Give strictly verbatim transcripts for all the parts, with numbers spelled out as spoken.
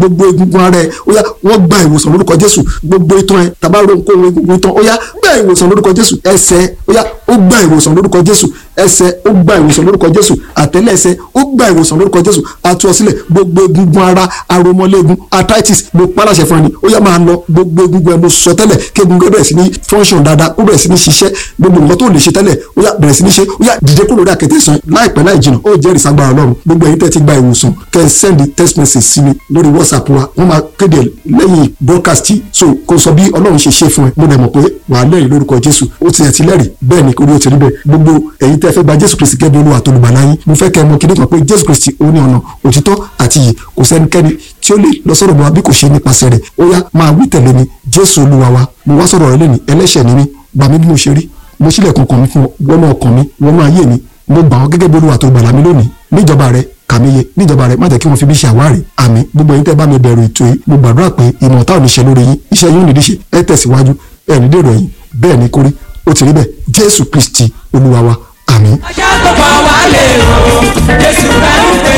Gbogbo egungun ara ẹ, ó yá, wọ́n gba ìwòsàn lórúkọ Jésù. Gbogbo itan ẹ, tàbá ro nǹkan egungun itan, ó yá, gba ìwòsàn lórúkọ Jésù. Ẹsẹ̀, ó yá, ó gba ìwòsàn lórúkọ Jésù. Ẹsẹ̀, ó gba ìwòsàn lórúkọ Jésù. Àtẹ́lẹsẹ̀, ó gba ìwòsàn lórúkọ Jésù. Atú ọ sílẹ̀. Gbogbo egungun ara, aromọléegun, arthritis, mo paláṣẹ fún ẹni, ó yá, máa lọ. Gbogbo egungun ẹ, mo sọ tẹ́lẹ̀ kí egungun ẹ bẹ̀rẹ̀ sí ní function dáadáa, ó bẹ̀rẹ̀ sí ní ṣiṣẹ́. Gbogbo nǹkan tó lè ṣe tẹ́lẹ̀, ó yá, bẹ̀rẹ̀ sí ní ṣe. Ó yá, dìde kúrò lórí àkẹ́tẹ́ sàn láìpẹ́ láì jìnnà, ó jẹ́rìí sagbára Ọlọ́run. Gbogbo ẹ̀yin tẹ́ ti gba ìwòsàn, kẹ́ ẹ send text message sí mi lórí WhatsApp wa. Wọ́n máa kéde lẹ́yìn broadcast, so kò sọ bí Ọlọ́run ṣe ṣe fún ẹ. Mo dẹ̀ mọ̀ pé wàá lẹ́rìí lórúkọ Jésù. Ó ti ẹ̀ ti lẹ́rìí, bẹ́ẹ̀ ni orí ó ti rí bẹ́ẹ̀. Gbogbo ẹ̀yin tẹ́ fẹ́ gba Jésù Kristi gẹ́gẹ́ bí Olúwa àti Olùgbàlà yín, mo fẹ́ kẹ́ ẹ mọ̀ kíní kan pé Jésù Kristi ó ní ọ̀nà, òtítọ́ àti ìyè. Kò sẹ́nikẹ́ni tí ó lè lọ sọ́dọ̀ bọ̀ bí kò ṣe nípasẹ̀ rẹ̀. Ó yá, máa wí tẹ̀lé mi: Jésù Olúwa wa, mo wá sọ̀rọ̀ rẹ lẹ́ni. Ẹlẹ́ṣẹ̀ ni mí, gbà mí bí mo ṣe rí. Mo ṣílẹ̀kùn ọkàn mi fún ọ, wọnú ọkàn mi, wọnú ayé mi. Mo gbà ọ́ gẹ́gẹ́ bí Olúwa tó gbàlà mi lónìí. Níjọba rẹ, kàmíye níjọba rẹ, má jẹ́ kí wọ́n fi mí ṣe àwárí. Àmín. Gbogbo ẹ̀yin tẹ́ bá mi bẹ̀rù ètò yìí, mo gbàdúrà pé ìmọ̀ ọ̀tá ò ní ṣe lórí yín, iṣẹ́ yín ò ní díṣe, ẹ tẹ̀síwájú, ẹ ní dèrò ẹ̀yìn. Bẹ́ẹ̀ ni kórí, ó ti rí bẹ́ẹ̀. Jésù Kristi Olúwa wa, àmín. Ajá tó pa wá lè o, Jésù rẹ̀ ń pè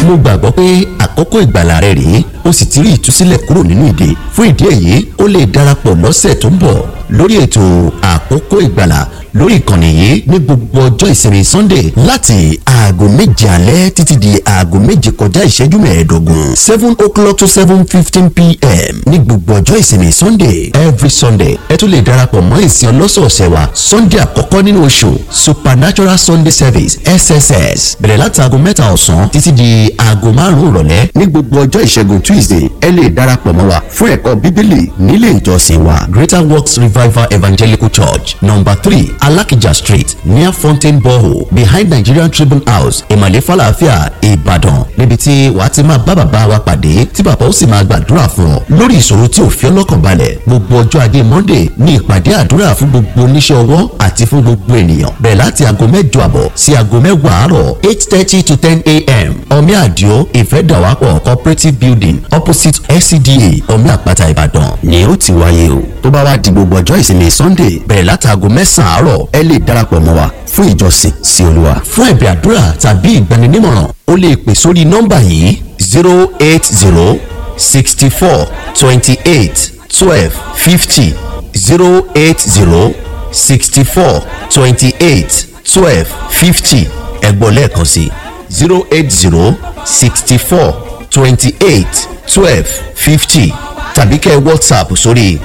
é. Mo gbàgbọ́ pé àkókò ìgbàlà rẹ rèé, o sì ti rí ìtúsílẹ̀ kúrò nínú ìdè. Fún ìdí èyí, ó lè darapọ̀ lọ́sẹ̀ tó ń bọ̀ lórí ètò Àkókò Ìgbàlà lórí ìkànnì yìí ní gbogbo ọjọ́ ìsinmi Sunday láti aago méje alẹ́ títí di aago méje kọjá ìṣẹ́jú mẹ́ẹ̀ẹ́dógún, seven o'clock to seven fifteen p m ní gbogbo ọjọ́ ìsinmi Sunday, every Sunday. Ẹ tún lè darapọ̀ mọ́ ìsìn ọlọ́sọ̀ọ̀sẹ̀ wa, Sunday àkọ́kọ́ nínú oṣù, Supernatural Sunday Service, S S S, bẹ̀rẹ̀ láti aago mẹ́ta ọ̀sán títí di aago márùn-ún ìrọ̀lẹ́. Ní gbogbo ọjọ́ ìṣẹ́gun Tuesday, ẹ lè darapọ̀ mọ́ wa fún ẹ̀kọ́ Bíbélì nílé ìjọsìn wa, Greater Works Revival Evangelical Church, number three, Alakija Street, near Fountain Borehole, behind Nigerian Tribune House, Emale Falafia, Ìbàdàn, níbi tí wàá ti máa bá bàbá wa pàdé, tí bàbá ó sì máa gbàdúrà fún ọ lórí ìṣòro tí ò fi ọlọ́kàn balẹ̀. Gbogbo ọjọ́ ajé Monday ní ìpàdé àdúrà fún gbogbo oníṣẹ́ ọwọ́ àti fún gbogbo ènìyàn, bẹ̀rẹ̀ láti aago mẹ́jọ àbọ̀ sí aago mẹ́wàá àárọ̀, eight thirty to ten a m, Omi Àdìo, Ìfẹ́dàwápọ̀ Cooperative Building, opposite S C D A, Omi Àpáta, Ìbàdàn ni ó ti wáyé o. Tó bá wá di gbogbo ọjọ́ ìsinmi Sunday, bẹ̀rẹ̀ láti aago mẹ́sàn-án àárọ̀, ẹ lè darapọ̀ mọ́ wa fún ìjọsìn sí Olúwa. Fún ẹ̀bẹ̀ àdúrà tàbí ìgbaninímọ̀ràn, o lè pè sórí nọ́mbà yìí: zero eight zero sixty four twenty eight twelve fifty, zero eight zero sixty four twenty eight twelve fifty. Ẹ gbọ́ lẹ́ẹ̀kan sí: zero eight zero sixty four twenty eight twelve fifty, tàbí kẹ́ ẹ WhatsApp sórí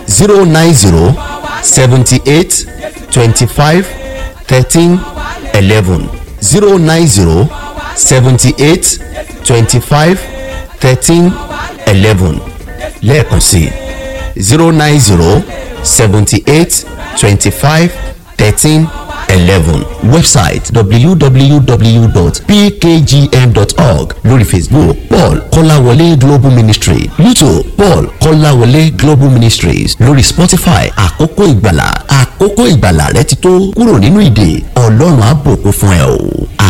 zero nine zero seventy eight twenty five thirteen eleven, zero nine zero seventy eight twenty five thirteen eleven. Lẹ́ẹ̀kan sí: zero nine zero seventy eight twenty five thirteen eleven. Website: w w w dot p k g m dot org. Lórí Facebook, Paul Kọ́láwọlé Global Ministry. YouTube, Paul Kọ́láwọlé Global Ministries. Lórí Spotify, Àkókò Ìgbàlà. Àkókò ìgbàlà rẹ ti tó, kúrò nínú ìdè. Ọlọ́run á bùkún fún ẹ o.